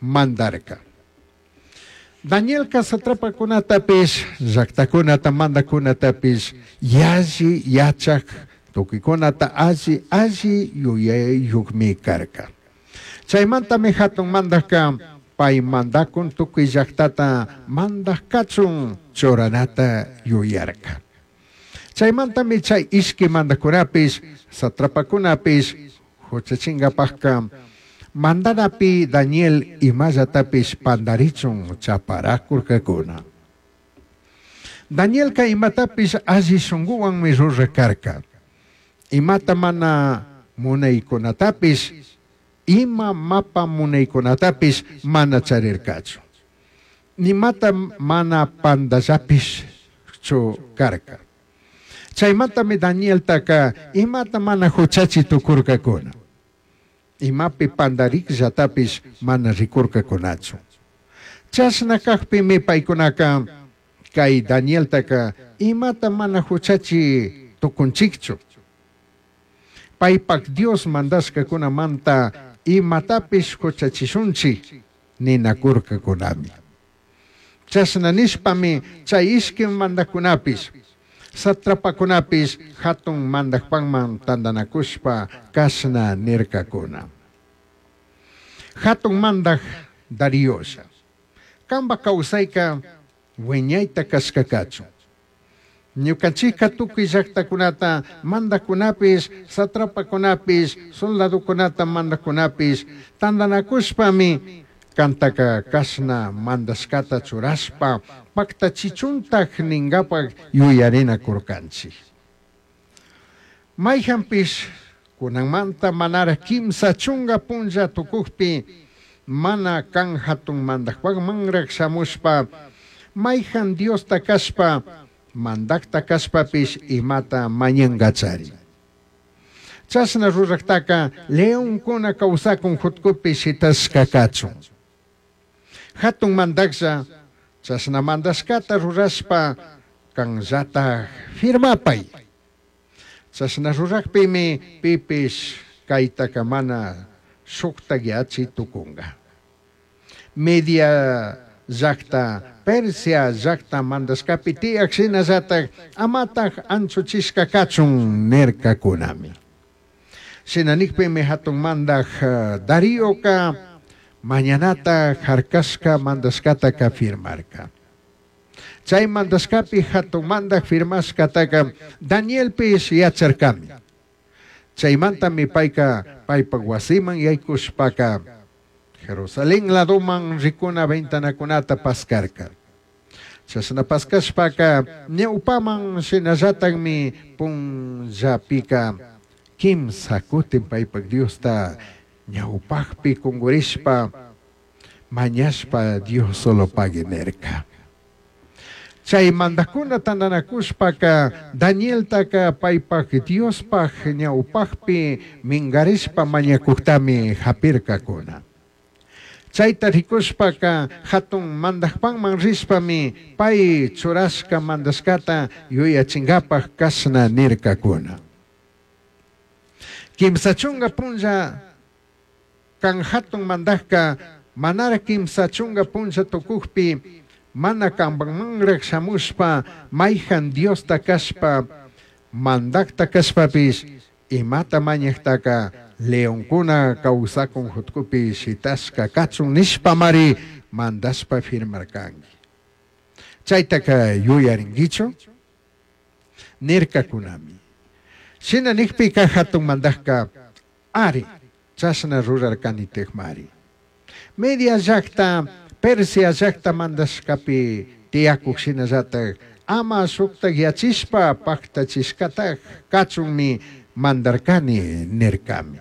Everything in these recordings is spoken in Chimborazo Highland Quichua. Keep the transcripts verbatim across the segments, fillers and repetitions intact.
Mandarca. Danielca satrapacunatapish, llajtacunata mandajcunatapish yalli yachaj, tucuicunata alli alli yuyaiyujmi carca. Chaimantami jatun mandajca pai mandacun tucui llajtata mandaj cachun churanata yuyarca. Chaimantami chai ishqui mandajcunapish, satrapacunapish juchachingapajca mandanapi Daniel imallatapish pandarichun chaparacurcacuna. Danielca imatapish alli shunguhuanmi ruraj carca. Imata mana munaicunatapish, ima mapa munaicunatapish mana charircachu. Nimata mana pandallapishchu carca. Chaimantami Danieltaca imata mana juchachi tucurcacuna. Imapi pandarijllatapish mana ricurcacunachu. Chashna cajpimi paicunaca cai Danieltaca imata mana juchachi tucunchijchu. Paipaj Dios mandashcacunamanta imatapish juchachishunchij ninacurcacunami. Chashna nishpami chai ishqui mandajcunapish, satrapacunapish jatun mandajpajman tandanacushpa cashna nircacuna. Jatun mandaj Dariolla, cambaj causaica huiñaita cashca cachun. Ñucanchijca tucui llajtacunata mandajcunapish, satrapacunapish, soldadocunata mandajcunapish tandanacushpami cantaca cashna mandashcata churashpa pajtachichuntaj ningapaj yuyarinacurcanchij. Maijanpish cunanmanta manaraj quimsa chunga punlla tucujpi mana can jatun mandajpajmanraj shamushpa maijan diosta cashpa mandajta cashpapish imata mañangachari. Chashna rurajtaca leoncuna causacun jutcupi shitashca cachun. Jatun mandajlla chashna mandashcata rurashpa canllataj firmapai. Chashna rurajpimi pipish caitaca mana shujtajyachi tucunga. Media llajta, Persia llajta mandashcapi tiyaj shinallataj amataj anchuchishca cachun nircacunami. Shina nijpimi jatun mandaj Darioca mañanata jarcashca mandashcataca firmarca. Chai mandashcapi jatun mandaj firmashcataca Danielpish yacharcami. Chaimantami paica paipaj huasiman yaicushpaca Jerusalén ladoman ricuna ventanacunata pascarca. Chashna pascashpaca ñaupaman shinallatajmi punllapica quimsa cutin paipaj Diosta ñaupajpi cungurishpa mañashpa Dios solo pagui nirca. Chai mandajcuna tandanacushpaca Danieltaca paipaj Diospaj ñaupajpi mingarishpa mañacujtami japircacuna. Chaita ricushpaca jatun mandajpajman rishpami pai churashca mandashcata yuyachingapaj cashna nircacuna. Quimsa chunga punlla can jatun mandajca manara quimsa chunga punlla tucujpi mana cambajmanraj shamushpa maijan Diosta cashpa mandajta cashpapish imata mañajtaca leoncuna causacun jutcupi shitashca cachun nishpamari mandashpa firmarcangui. Chaitaca yuyaringuichu? Nircacunami. Shina nijpica jatun mandajca ari chashna rurarcanitajmari. Media llajta, Persia llajta mandashcapi tiyacuj shinallataj ama shujtaj yachishpa pajtachishcataj cachunmi mandarcani nircami.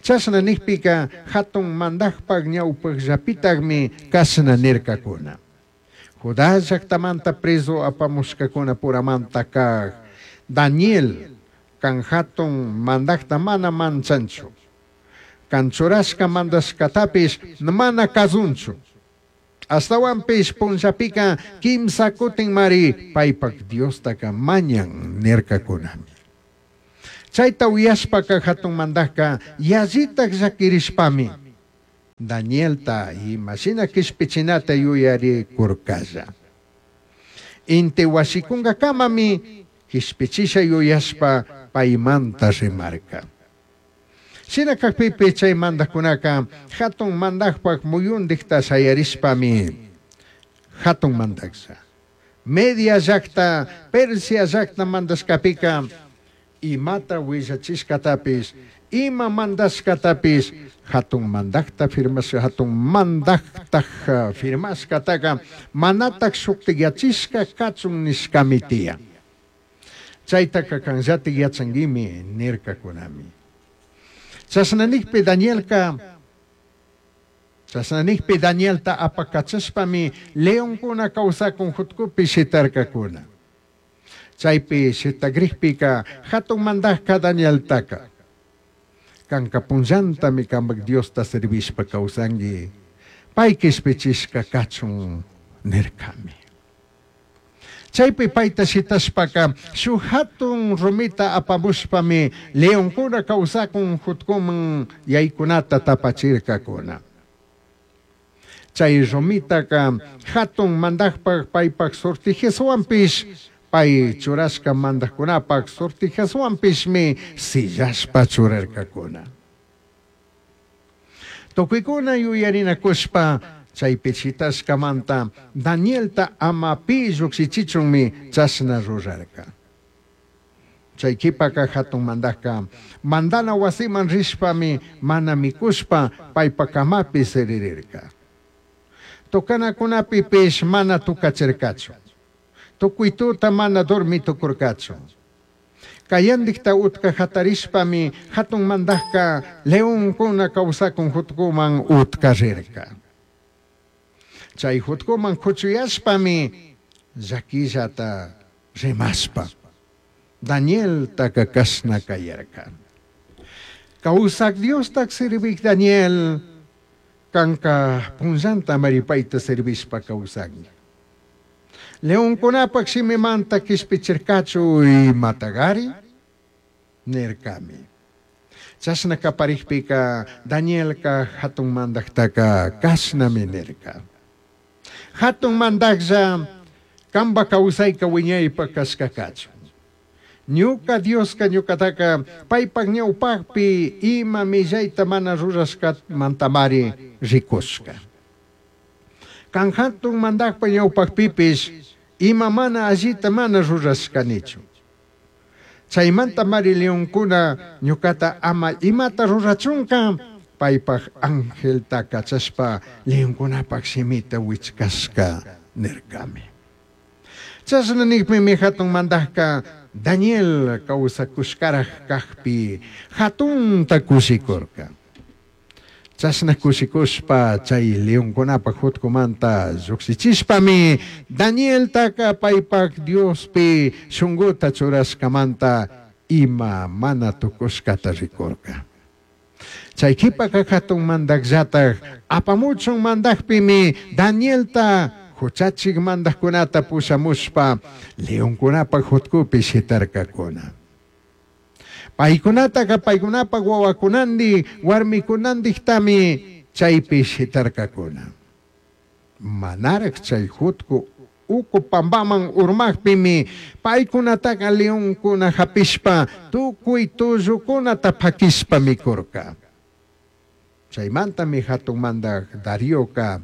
Chashna nijpica jatun mandajpaj ñaupajllapitajmi cashna nircacuna. Judá llajtamanta prezu apamushcacuna puramanta caj Daniel can jatun mandajta mana manchanchu. Can churashca mandashcatapish mana kazunchu. Ashtahuanpish punllapica quimsa cutinmari paipaj Diostaca mañan nircacunami. Chaita uyashpaca jatun mandajca yallitaj llaquirishpami Danielta ima shina quishpichinata yuyaricurcalla. Inti huashicungacamami quishpichisha yuyashpa paimanta rimarca. Shina cajpipi chay mandajcunaca jatun mandajpaj muyundijta shayarishpami jatun mandajlla. Media llajta, Persia llajta mandashcapica imata huillachishcatapish, ima mandashcatapish jatun mandajta firmashca, jatun mandajtaj firmashcataca manataj shujtiyachishca cachun nishcami tiyan. Chaitaca canllatik yachanguimi nircacunami. Chashna nijpi Danielca, chashna nijpi Danielta apacachashpami leoncuna causacun jutcupi shitarcacuna. Chaipi shitagrijpica jatun mandajca Danieltaca canca punllantami cambaj Diosta servishpa causangui, pai quishpichishca cachun nircami. Chaipi paita shitashpaca shuj jatun rumita apamushpami leoncuna causacun jutcuman yaicunata tapachircacuna. Chay rumitaca jatun mandajpaj paipaj sortijashuanpish, pai churashca mandajcunapaj sortijashuanpishmi sillashpa churarcacuna. Tucuicuna yuyarinacushpa chaipi shitashcamanta Danielta ama pi llujshichichunmi chashna rurarca. Chay quipaca jatun mandajca mandana huasiman rishpami mana micushpa paipa camapi siririrca. Tocanacunapipish mana tucachircachu. Tucui tuta mana dormi tucurcachu. Cayandijta utca jatarishpami jatun mandajca leoncuna causacun jutcuman utca rirca. Chay jutcuman cuchuyashpami llaquillata rimashpa Danieltaca cashna cayarca. Causac Diostac servij Daniel, canca punllanta maripayta servishpa causangui. Leoncunapac shimimanta quishpichircachu imatagari nircami. Chashna caparijpica Danielca jatun mandajtaca cashnami nirca. Jatun mandajlla camba causaica wiñaypa cashca cachun. Ñuca Diosca ñucataca paipaj ñaupajpi ima millayta mana rurashcamantamari ricushca. Can jatun mandajpa ñaupajpipish ima mana allita mana rurashcanichu. Chaymantamari leoncuna ñucata ama imata rurachunca paipaj angelta cachashpa leoncunapaj shimita huichcashca nircami. Chashna nijpimi jatun mandajca Daniel causacushcaraj cajpi jatunta cushicurca. Chashna cushicushpa chay leoncunapaj jutcumanta llujshichishpami Danieltaca paipaj Diospi shunguta churashcamanta ima mana tucushcata ricurca. Chay quipaca jatun mandajllataj apamuchun mandajpimi Danielta huchachik mandajkunata pushamushpa leoncunapaj jutcupi shitarcacuna. Paykunataka paykunapaj wawakunandi warmikunandijtami chaypi shitarcacuna. Manaraj chay jutcu uku pambaman urmajpimi paykunataka leoncuna hapishpa tukuy tullukunata pakishpa mikurka. Chaymantami jatun mandaj Darioka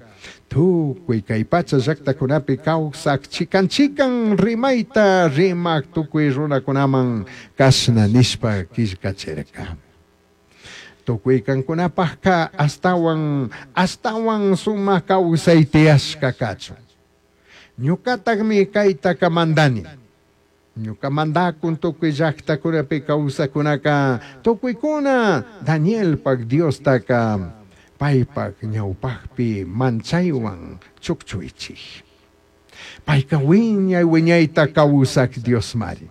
tukuy kay pacha llaqtakunapi kawsaq chikan chikan rimayta rimaq tukuy runakunaman kashna nishpa killkachirka. Tukuy kankunapajka astawan astawan sumaq kawsay tiyashka kachun. Ñukatakmi kaytaka mandani. Ñuka mandakun tukuy llaqtakunapi kawsakunaka tukuykuna Danielpaj Diostaka paypaj ñawpajpi manchaywan chukchuychik. Payka wiñay wiñayta kawsaq Diosmari.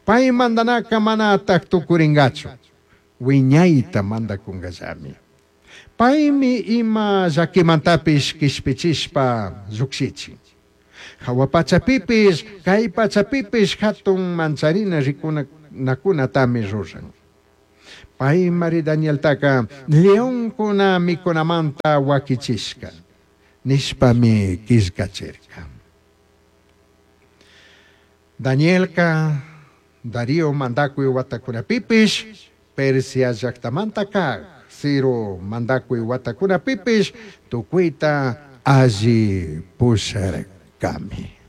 Pay mandanaka manataj tukuringachu. Wiñayta mandakunkallami. Paymi ima llakimantapish kishpichishpa lluqshichin. Hawa pachapipish, kay pachapipish hatun mancharina rikunakunatami ruran. Paimari Danieltaca leoncuna micunamanta huaquichishca nishpami quillcachirca. Danielca Darío mandacui huatacunapipish Persia llajtamanta caj Ciro mandacui huatacunapipish tucuita alli pusharcami.